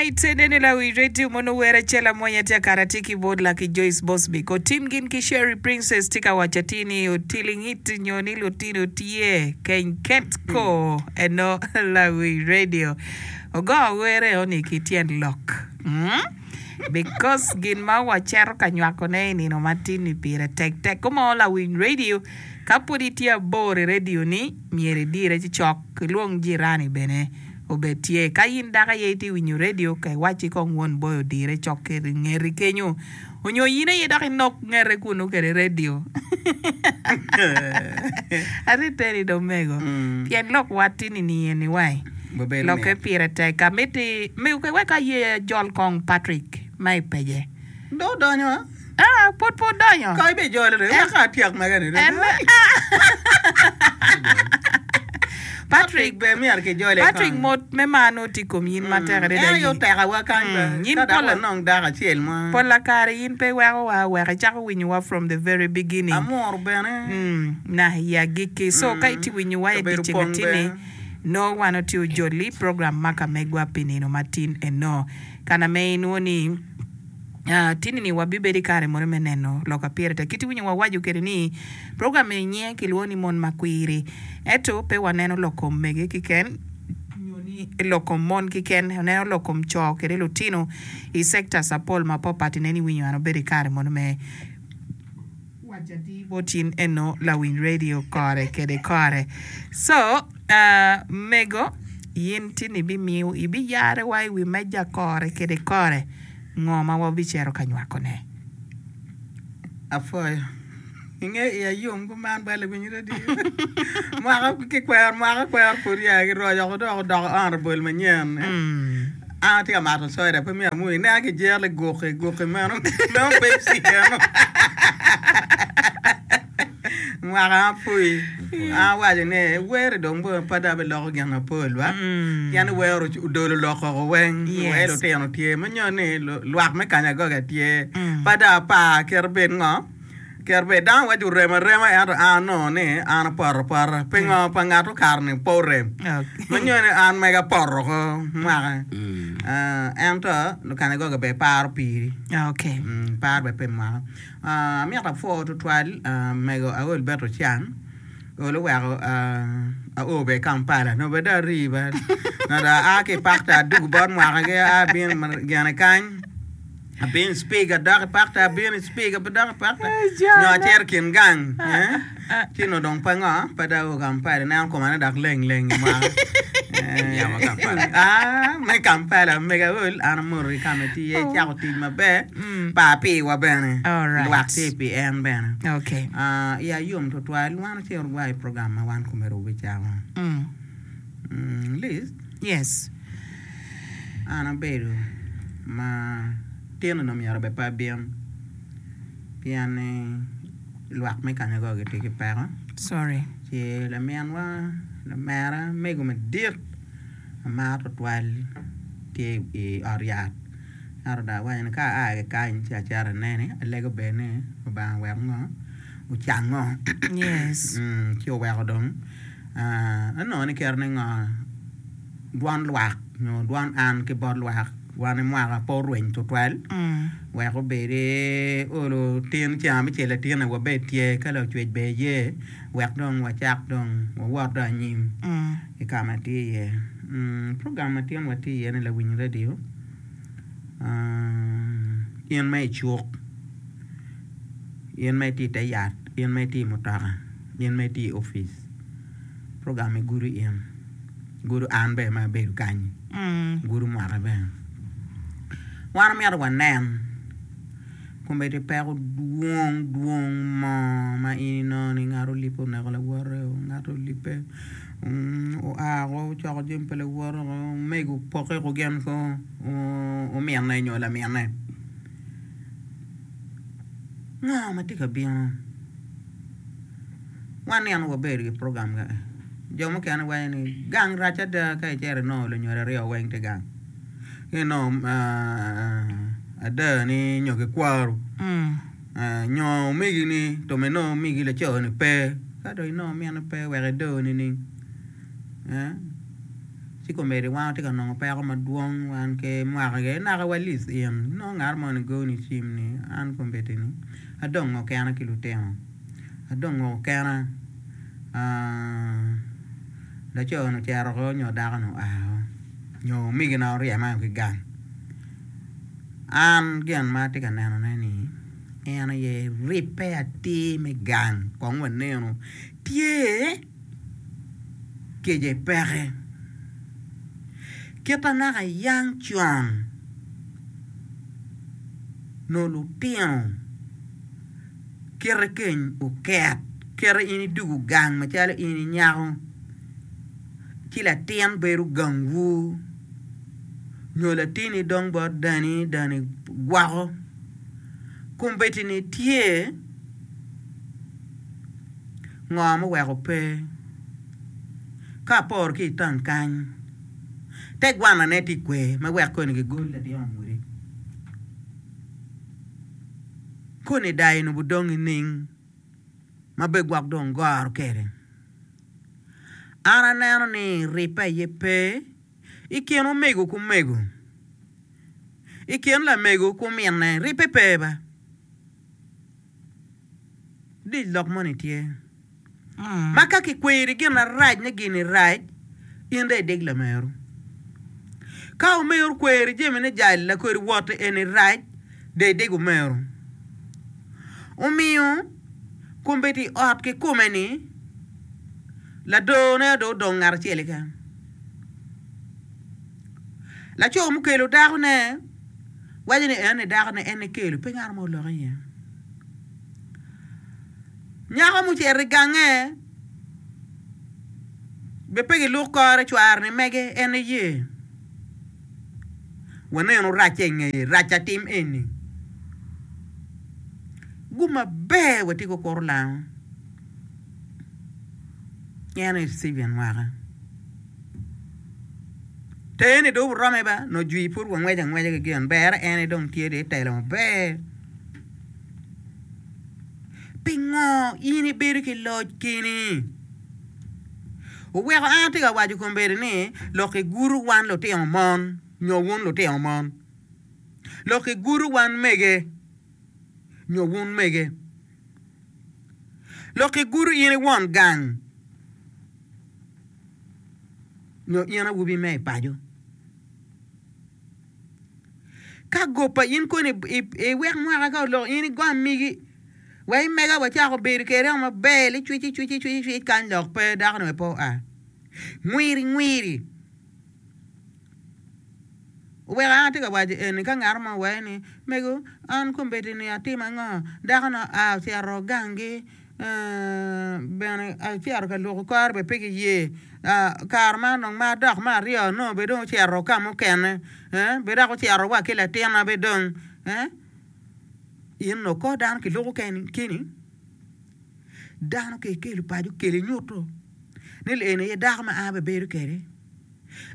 Alright, enene lawi radio mono wer acel amwonya tye akara tye ki bot Lucky Joyce Bosmic. Otim gin ki Sherry Princess tye ka waco atir ni otilingit nyo ni lutino tye keny ket ko eno lawi radio. Ogo wer eno ni ki tyen lok. Mm? Because gin ma waceto ka nywako ne i nino matin ni pire tek tek. Kumo lawiny radio ka pud itye abor i radio ni myero idire ci cok ilwong jirani bene. obed tye. Ka in dako aye itye winyo redio, ka iwacci kong won boy odire cok ki ngeti kenyo, onyo in aye dok inok ngete kunu kede redio. Ati teri do mego. Pien lok wat tini ni eni wai. Wabedo Lokke mit. pire tek. Amiti, wek aye jol kong Patrick ma i pece. Dong odonyo a? Ah, pwod pe odonyo. Ka ibijolo dong, En- wek atyek mege ni dong. En Patrick Patrick, be myero kijole Patrick kong. mot me mar nongo tye i kom in matek adada. En aye otekawa kany Mm, be. in Ka dok pol- wanong dako acel mo. Pola kare in pe iwekowa wek icako winyowa from the very beginning. Amuru bene. Mm, na i agikki. So ka itye winyowa i Kabedo dyeceng pong atini, bene. nongo wan otye ojoli program ma ka megwa pi nino matin eno. Kana me inwo ni Tini-ni wabibedo i kare mono me neno lok a pire tek. Kit iwinyo wawaco kwede ni program eni nyinge kilwongo ni Mon Makwiri. Ento pe waneno lok kom mege keken nyo ni lok kom mon keken, waneno lok kom co kede lutino i sectors apol mapapat. Ineno iwinyo an obedo i kare mono me waco atir bot in eno lawiny radio kore kede kore. So, mego, in tini ibimiyo ibiyare wa i wi meja kore kede kore. Ngo ma wabicito ka nywakone? Apwoyo. Inge iya yom kuman bal lawiny radio. Mwaka ki kwero mwaka kwero pud ya ki roco oko dok odoko honorable manyen. An atye ka mato soda pe myero amwoyi. Ineno ki jero guki guki meno meno Pepsi eno. Mwaka apwoyi. An awaco ni wer dong bene pe dong abiloko gin mapol ba pien ni wer odolo lok oko weng wai lutino tye ma nyo ni lwak me kanyagoga tye pe dong apar kit bed ngo kit bed dano waco orem arema ento an anongo ni an apoto apota pingo pa ngat okato ni pe orem ma nyo ni an mega apoto oko mwaka ento lukanyagoga bene paro piri paro bene pi mwaka. Amito apwo tutwal mego Aol Beto Cang olo oweko ao bene i Kampala nongo bene dong ari ba nongo dong aa ki i pakta adwogo bot mwakagi abino gine kany abino i cipik adok i pakta abino i cipik adok i pakta nyo acito i kin gang Ci onongo dong pe ngo, pe dong ao Kampala, ineno koma ni dok leng leng i mwaka. Ah, me Kampala, mego aol, an amoto ki ka ma itye iye, icako tic maber, par piwa bene, Alright. lwak tye pi en bene. Okay. Ah, iya yom tutwal, wan ocito wa i program ma wan komedi wabicako. Mm. Mm, Liz, Yes. an abedo ma tin onongo myero bed pe abin, pien ni lwak me kanyogo gitye ki peko. Sorry. Ci laminwa, lamera, mego madit amaro tutwal tye i ot yat. Ento dong awaco ni ka aa ki kany ci acito anene, alego bene ni Lubanga owek ngo, ocango. Yes. Ci oweko dong anongo ni kite ni ngo, dwon lwak nyo dwon an ki bot lwak wan i mwaka pe orweny tutwal wek obed olo tin ceng abicel latinne wabed tye ka lacwec bene ye wek dong wacak dong wawot dong anyim i ka ma tye iye. Program ma tin watye iye ni lawiny radio in ma icuk, in ma itye ite yat, in ma itye i mutoka, in ma itye i opic program-mi gudo in. Gudo an bene ma abedo kany, gudo mwaka bene. Wan omyero wanen kombeddi peko dwong dwong mo ma in inongo ni ngat olipe oneko lawote, ngat olipe oa woko ocoko jami pa lawote woko, omego opokke woko gin ki ominne nyo laminne. Ngo ma tye ka bino? Wan nino wabedo i program ka jo mukene waco ni gang rac ada ka icito inongo lunyodo aryo weng tye gang ci inongo ada ni nyo kikwaru nyo omegi ni to ma inongo omegi laco ni pe ka dong inongo mine pe wek ido nining? Ci komedi wan watye ka nongo peko madwong wan ki mwaka gi naka wa list in nongo ngat moni goni cim ni an kombeddi ni adongo kena ki lutino adongo kena laco ni ocito oko nyo dako ni oa oko nyo omegina oryema ki gang an gin ma atye ka neno ne ni en aye ribbe atir me gang kong wanenu tye. kece peke. Kit ma naka yang con nongo lutino kite keny oket kite in idwogo gang macalo in inyako ci latin bedo gangwu nyo latinni dong bot dani, dani gwoko kombeddi-ni tye. Ngo muweko pe? Ka aporo ki i taun kany, te gwanane tye kwe ma wek koni gigol latin ongudi. Koni dayo ni budong nining ma be gwok dong goro kede? An aneno ni ribbe aye pe i kin omego ki omego, i kin lamego ki ominne ribbe pe ba. Dic lok moni tye ma ka kikweri gin marac ni gini rac, in dong idig lameru. Ka omeru okweri jami ni jal lakodi wot eni rac, dong idig omeru. Omiyo kombeddi i ot kikome-ni, ladorone dong odong ngat acel keken. Laco mukelo dakone waco ni eni dakone en ekelo pe ngat mo oloko iye. Nyako mucito i gange bene pe giluk kore cware ni mege en eye. Wanenu racce i ngeye, rac atim eni. Gum maber watye ki okuto lango en aye Stephen mwaka. Teni dong orome ba nongo jwi pud wangweco angweca ki gin berre en aye dong tye dong itelo maber. Pingo in ibedo ki loc keni? Oweko an atye ka waco kombeddi ni lok igudo wan lutino mon nyo wun lutino mon, lok igudo wan mege nyo wun mege, lok igudo in i won gang nyo in awobi me i paco. Ka goba in koni iwek mwaka ka oloko in igam migi wek imega wacako bedo kwede maber licwic icwic icwic icwic kany lok pe dako ni pe oa ngwiri ngwiri oweko an atye ka waco eni ka ngat mo owaco ni mego an kombeddi ni atimo ango dako ni oa ocito gangi Bene acito ka lwoko kore bene pe giye kare man dong ma adok me aryo nongo bene dong ocito ka mukene bene dok ocito wa ki latinna bene dong in onongo kor dano kiloko keni dano ka ikelo paco kelo inyuto ni eni aye dako ma an abibedo kwede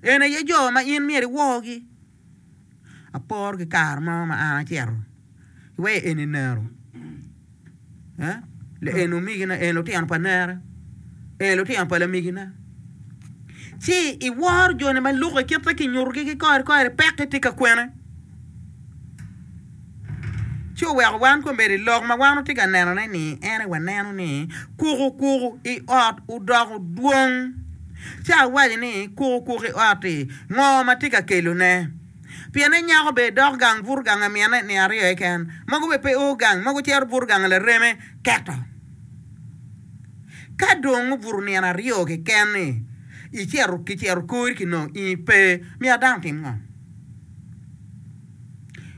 eni aye jo ma in myero iworgi aporo ki kare mo ma an acito iweyo eni nero eni omegina eni lutino pa nera eni lutino pa lamegina ci iworo joni ma lukke kit ma kinyutogi ki kore kore pekki tye ka kwene ci oweko wan kombeddi lok ma wan watye ka nenone ni en aye waneno ni kuku kuku i ot odoko dwong ci awaco ni kuku kuku i ot-ti ngo ma tye ka kelone? Pienne nyako bene dok gang buto gang a minne nino aryo keken, mogo bene pe o gang, mogo cito buto gang a lareme keto. Ka dong obuto nino aryo keken-ni, icito kicito kori kinongo in pe, myero dano otim ngo?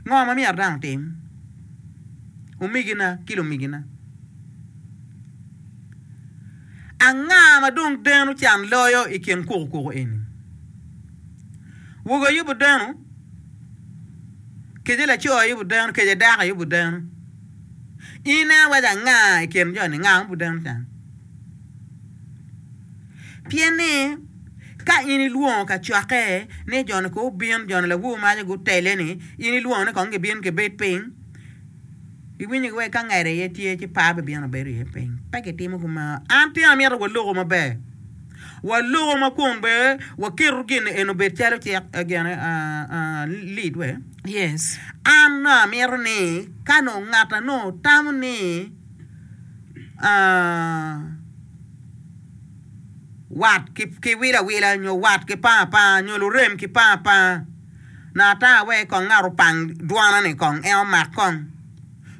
Ngo ma myero dano otim? Omegina ki lumegina. Anga ma dong deno can loyo i kin kukukuku eni? Wogo aye obideno, kece laco aye obideno, kece dako aye obideno. In ineno iwaco anga i kin jo-ni, nga ma obideno can? Pien ni ka in ilwongo kacokke ni jo-ni kong obin, jo-ni lawor maco gutele-ni, in ilwongo ni kong gibin gibed piny, Iwinyo gi wek ka ngede aye tye ci par bibino bedo iye piny. Pe kitimo kumeno. An tye amito waloko maber. Waloko ma kun bene waketo gin eni obed calo cik gine lead we. Yes. An nongo amito ni ka nongo ngat a nongo tamo ni wat ki wilo awila nyo wat ki panga apanga nyo lurem ki panga apanga nongo ata wek kong ngat opang dwona ni kong en omak kong.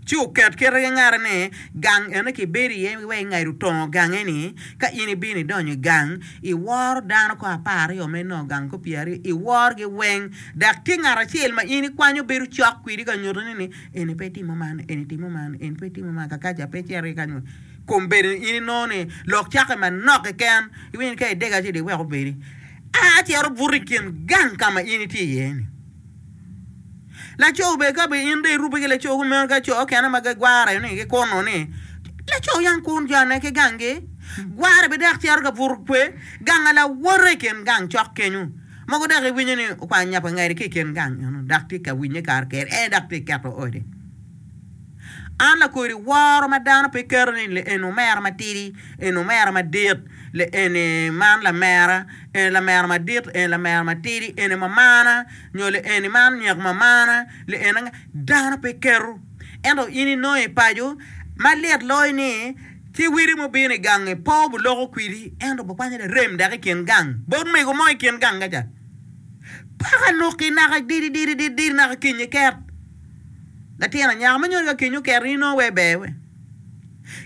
Ci oket kite ki ngate ni, Gang ene kibedo iye wek ingado tongo gange ni, ka in ibino idonyo i gang, iworo dano ko apararyo ma inongo gang ko pyeraryo, iworogi weng, dok tye ngat acel ma in ikwanyo bedo cok kwedi ka nyutone ni, eni pe itimo man, eni timo man, eni pe itimo man, kakaca pe icito ki kany. Kombeddi in inongo ni lok cakke manok keken, iwinyo ni ka idega ci dong iwek obedi. A cito buto i kin gang ka ma in itye iye-ni. Laco bene ka bene in dong irubbe ki laco kumeno ka co okene ma gigware ni gikuno ni laco yang kun jone ki ganggi gware bene dok cito ka buto kwe gang lawote i kin gang cok kenyo mogo dok iwinyo ni okwanyo nya pa ngeri ki i kin gang eno dok tye ka winye kare kene en dok tye ka keto ode. An lakodi woro ma dano pe keto ni eni omera matidi eni omera madit eni man lamera eni lamera madit eni lamera matidi eni mamana nyo eni man nyek mamana eni anga dano pe keto ento in inongo i paco ma lit loyo ni ci widi mubino i gangi pe obuloko kwidi ento bukwanyo larem dok i kin gang bot mego mo i kin gang kaca paka luki naka didi didi didi naka kinyi ket latin anyaka ma nyo ka kinyi oket in inongo wai ber we.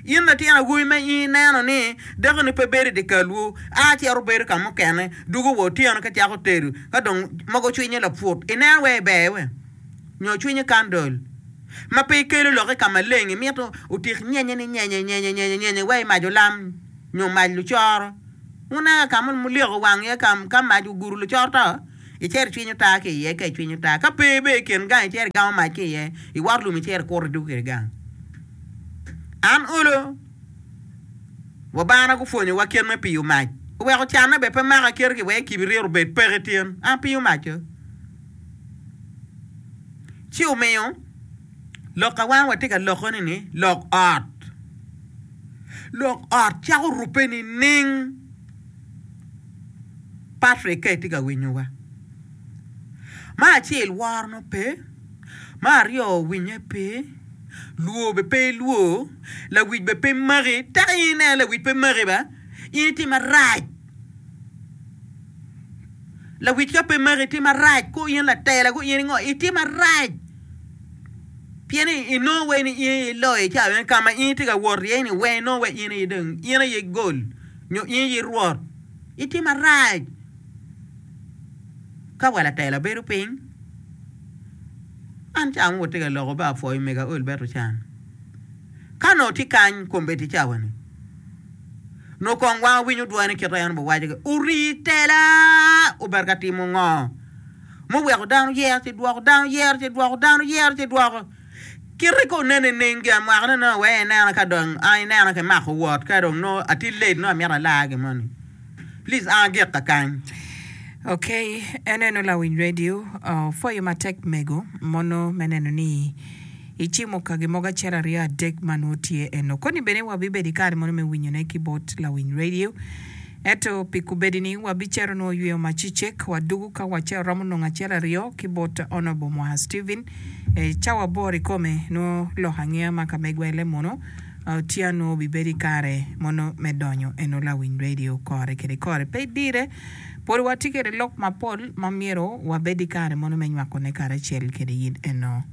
In latin awobi ma in ineno ni dakoni pe bedo i dyekalwu, a cito bedo ka mukene, dwogo wa otyeno ka cako tedo, ka dong mogo cwinye laput, ineno wai ber we? Nyo cwinye kandol ma pe ikelo lokke ka maleng, imito otik nyenye ni nyenye nyenye nyenye nyenye wai mac olam nyo mac lucoro. Wuneno ka ma mulyoko wang iye ka mac ogudo lucoro to? Icito icwinyo taa ki iye ka icwinyo taa, ka pe bene i kin gang icito igamo mac ki iye, iwoto lum icito ikuto idwogo kwede gang. An olo, wabana gupwonyowa kit me piyo mac, oweko canne bene pe maka kite ki wek kibirito obed peke tin, an apiyo mac-co. Ci omiyo lok ka wan watye ka loko-ni ni lok ot, lok ot cako rubbe nining? Patrick ka itye ka winyowa, me acel woro nongo pe, Me aryo, winye pe, lwor bene pe ilwor, lawic bene pe maki. Teka in ineno lawic pe maki ba, in itye marac. Lawic ka pe maki itye marac, ko in latela ko in ingo, itye marac. Pien ni inongo wai ni in aye iloyo i cawa meno, ka ma in itye ka wot iye ni weng inongo wai in aye dong in aye gol nyo in aye rwot, itye marac. Ka wa latela bedo piny, an ca mo watye ka loko ba apwoyo mego aol bene ocan. Ka onongo tye kany kombeddi cawa-ni, onongo kong wan wawinyo dwone kit ma en obiwaco ki ori tela obedo ka timo ngo muweko dano yero ci dwoko, dano yero ci dwoko, dano yero ci dwoko. Kite ka onen nining gin mwakane nongo wek inena ka dong an inena ki mako wot ka dong nongo atye late nongo amito alar gin moni. Please an agik kakany. Ok, en eno lawiny radio opwoyo matek mego mono me neno ni icimo kagi mogo acel aryo adek ma nwo tye eno. Koni bene wabibedo i kare mono me winyone ki bot lawiny radio. Ento pi kubedi ni wabicito nwo yweyo macicek wadugu ka wace oromo nongo acel aryo ki bot Honourable Mwaha Stephen e cawa aboro ikome nwo lok angeya ma ka me gwele mono Tye anongo obibedo i kare mono me donyo eno lawiny radio kore kede kore. Pe idire, pwod watye kede lok mapol ma myero wabed i kare mono me nywakone karacel kede yin eno.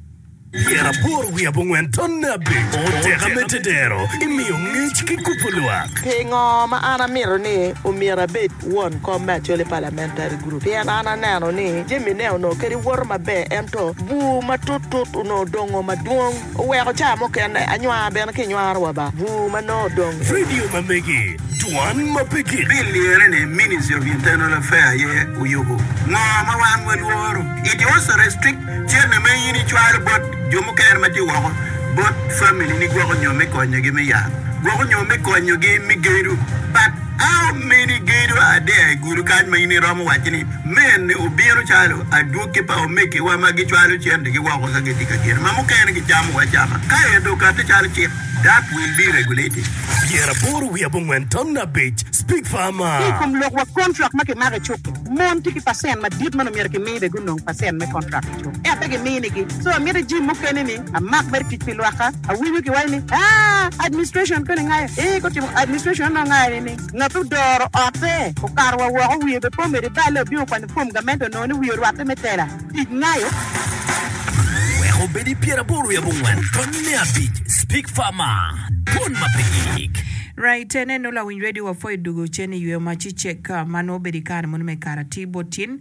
Pyeraboro wiye abongwen tonne abic oteka me tedero imiyo ngec ki kubo lwak. Pingo ma an amito ni omyero abed won kom me Acholi Parliamentary Group? Pien an aneno ni jami ne onongo kadi woto maber ento bur matut tut onongo odongo madwong. Oweko ca mukene anywar bene kinywaro wa ba bur ma nongo odong. Radio ma megi, dwan ma pe gik. Bill lire ni Ministry of Internal Affair aye oyubo. Ngo ma wan walworo? It also restrict cente ma in icwalo bot jo mukene ma tye woko bot family ni gwoko nyo me konyogi me yat, gwoko nyo me konyogi me gedo. But how many gedo are there i gudo kany ma in iromo waco ni Mene obino calo adwogi pa omegiwa ma gicwalo centegi woko ka gitye ka gene, ma mukene gicamowa acama. Ka en dong okatti calo cik. That will be regulated. 85 5 Speak Ki i Farmer. kom lok wa kontrak ma kimako i cuk-ki, mon tye ki pacent madit ma nongo myero kimi bene gunong pacent me kontrak i cuk, ento pe giminigi. So amito jim mukene ni amak mere tic pi lwakka. Awinyo kiwaco ni, Aa, administration koni ngayo. Ee, ka otimo administration onongo ngayo nining? Ngat odoro otte okato wa woko wiye bene pe omedo iballe obino okwanyo fom gamente onongo ni wiye orwatte me tela tic ngayo. Wek obed i 84 5 Speak Farmer, Dwon ma pe gik. Right, neno lawiny radio wapwoyo dugo cen i yweyo ma cicek ma nongo obedo i kare mono me kare atir bot tin.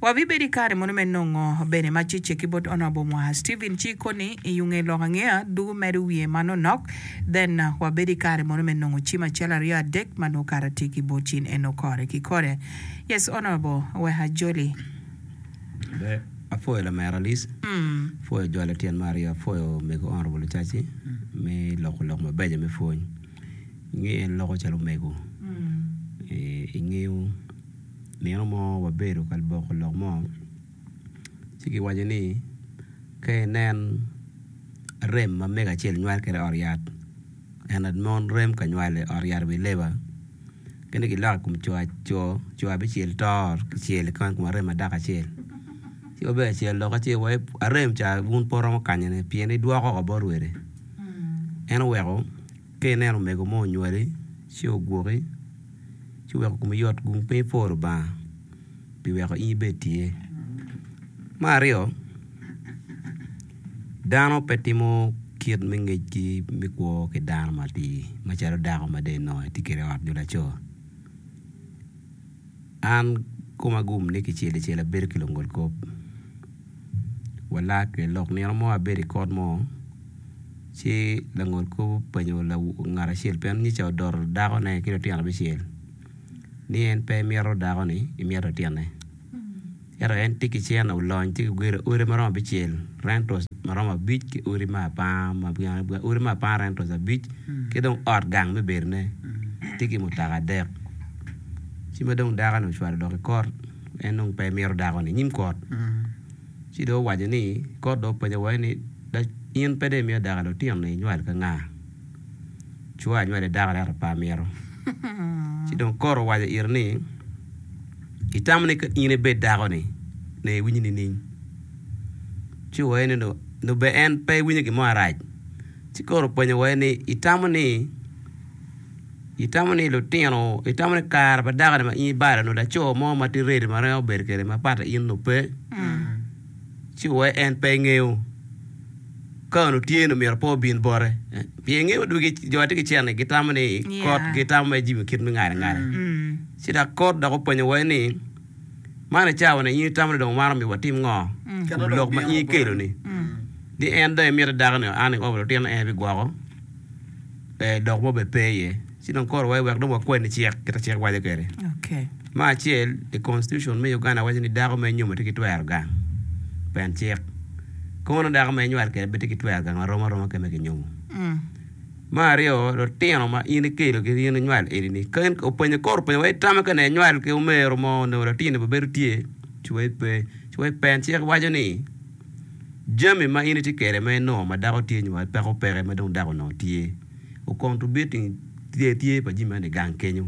Wabibedo i kare mono me nongo bene ma cicek ki bot Honourable Mwaha Stephen ci koni i yunge lok angeya dugo medo wiye manonok then wabedo i kare mono me nongo cim acel aryo adek ma nongo kare atir ki bot cin eno kore ki kore. Yes Honourable wek ajoli. Ber, apwoyo lamera Alice, apwoyo jolo tyen me aryo, apwoyo omego Honourable Lucaci me loko lok mabeco me pwony. Inge en loko calo omego, ingeyo nino mo wabedo ka boko lok mo ci kiwaco ni ka inen rem ma mego acel nywal kwede i ot yat en mon rem ka nywal i ot yat i wi leba kene kiloko i kom co co abicel to kicel i kom arem ma dako acel ci wabedo acel lok acel wa arem ca wun pe wuromo kanyone pien idwoko woko bot wede en oweko ka ineno omego mo onywali ci ogwoki ci weko komi yot gung piny ipwo Lubanga pi weko in ibed tye. Me aryo, dano pe timo kit me ngecgi me kwo ki dano matir macalo dako ma dong inongo itye kwede i ot nyo laco. An koma gum ni kicel icel abedo ki lungolkop walak kwede lok nino mo abedo i kot mo ci langolkop openyo ngat acel pien nyica odoto dakone ki lutino abicel ni en pe emito dako-ni emito litine ento en tye ki cente olony tye ki gedo odi ma romo abicel rentals ma romo abic ki odi me apanga odi me apanga rentals abic ki dong ot gang me bedone tye ki mutoka adek ci ma dong dako-ni ocwalo dok i kot en dong pe emito dako-ni i nyim kot. Ci dong owaco ni, Kot dong openyo wa ni, 'In pe dong imiyo dako lutino-ni inywal ka nga? Cwa anywali dako ento pe amito. Ci dong kot owaco ite ni, Itamo ni ka in ibed dako-ni, nongo iwinyo nining? Ci owaco ni, Nongo ber en pe ewinyo gin mo marac. Ci kot openyo wa ni, Itamo ni Itamo ni lutino, itamo ni kare pa dako-ni ma in ibalo nyo laco mo ma tye ready ma romo bedo kwede ma pat in onongo pe, ci wai en pe ngeyo. Ka onongo tye ni myero pe obin bote. Pien ingeyo dwogi jo ma tye ki cente gitamo ni kot gitamo mere jami kit me ngale ngale. Ci dok kot dok openyo wai ni man i cawa-ni in itamo ni dong wan omyero watim ngo? Kom lok ma in ikelo-ni. Ni en dong emito dako-ni an i lutino en bigwoko. dok mo bene pe iye ci dong koro wai wek dong wakwanni cik kita cik waco kwede. Me acel i constitution me Uganda waco ni dako ma inyomo tye ki twero gang pen cik kono dako ma inywal kwede bene tye ki twero gang marom aroma ki ma kinyomo. Me aryo lutino ma in ikelo ki in inywal eni ni ka in openyo koro openyo wa itamo ka ne inywal ki omero mo onongo latini bene bedo tye ci wai pe ci wai pen cik waco ni Jami ma in itye kwede ma inongo ma dako tye nyo ma peko peke ma dong dako onongo tye o contributing tye tye pa jami meno i gang kenyo.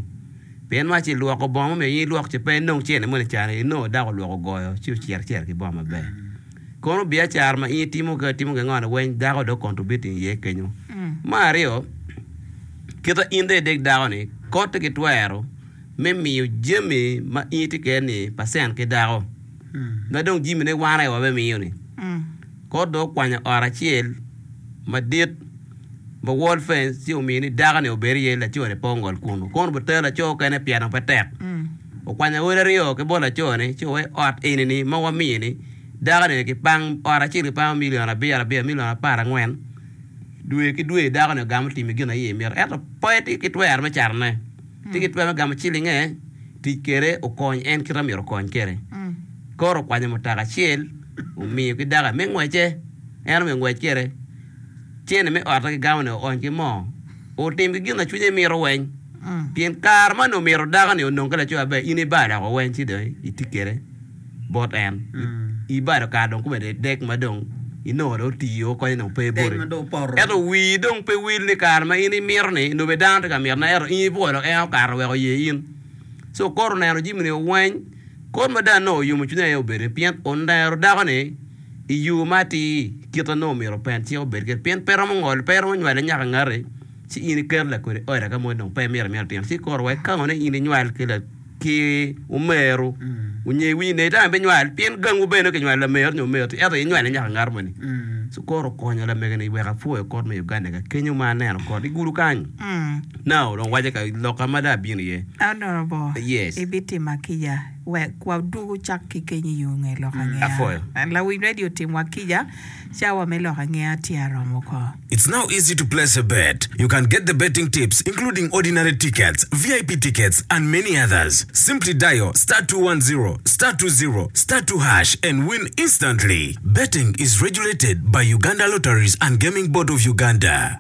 Pien ma ci lwoko bongo ma myero in ilwok ci pe inong cene moni cani inongo dako olwoko ogoyo ci ocito acita ki bongo maber. Kono biacara ma in itimo ka itimo ki ngo ni weng dako dong contributing iye kenyo. Me aryo kita in dong idek dako ni kotte ki twero me miyo jami ma in itye kwede ni pacent ki dako. Ma dong jimine wan aye wabimiyo-ni. Kot dong okwanyo ot acel madit ma wall fence ci omiyo ni dako-ni obed iye laco-ni pe ongol kunu. Kono obitero laco okene pien dong pe tek. Okwanyo awobi aryo ki bot laco-ni ci oweko ot eni-ni ma wamiyo-ni dako-ni kipang ot acel kipango milion abiro abiro milion aparangwen dwe ki dwe dako-ni ogamo timo gin ma iye mito ento pe tye ki twero me catone. Tye ki twero me gamo cilinge, tic kwede okony en kite ma myero okony kwede. Koro okwanyo mutoka acel omiyo ki dako me ngwece, en omiyo ngwec kwede. Cene me otte kigamo-ni oony ki moo, otim ki gin ma cwinye mito weng. Pien kare ma onongo myero dako-ni onong ki laco maber, in ibalo woko weng ci dong iti kwede bot en. Ibalo kare dong kome dek ma dong. inongo dong otiyo konye dong pe Dec boti. ma dong opoto. Ento wii dong pe wil ni kare ma in imito ni nongo bene dano tye ka mitone ento in ibwolo en okato wek oye in. So kot oneno jami ni weng, kot ma dong anongo oyomo cwinya aye obedo pien onero dako ni i yo ma atir kite nongo myero open cik obed kwede pien pe romo ngolo pe romo nywale nyaka ngati ci in iketo lakodi oda ka mo dong pe imito amita tino ci koro wa ikango ni in inywal ki ki omeru onyo iwinyo ne itamo ibinywal pien gangwu bene kinywalo lameru nyo omeru ento inywale nyaka ngat moni ci koro okonyo lamege ni wek apwoyo kot me Uganda ka kenyo ma aneno kot igudo kany now dong waco ka loka ma dong abino iye Honorable, yes ibitima kica wek wadwogo cak ki keny i yo nge lok angeya. Apwoyo. Lawiny radio timwa kica, cawa me lok angeya tye aromo ko. It's now easy to place a bet. You can get the betting tips including ordinary tickets, VIP tickets and many others. Simply dial star 210 star 20 star 2 hash and win instantly. Betting is regulated by Uganda Lotteries and Gaming Board of Uganda.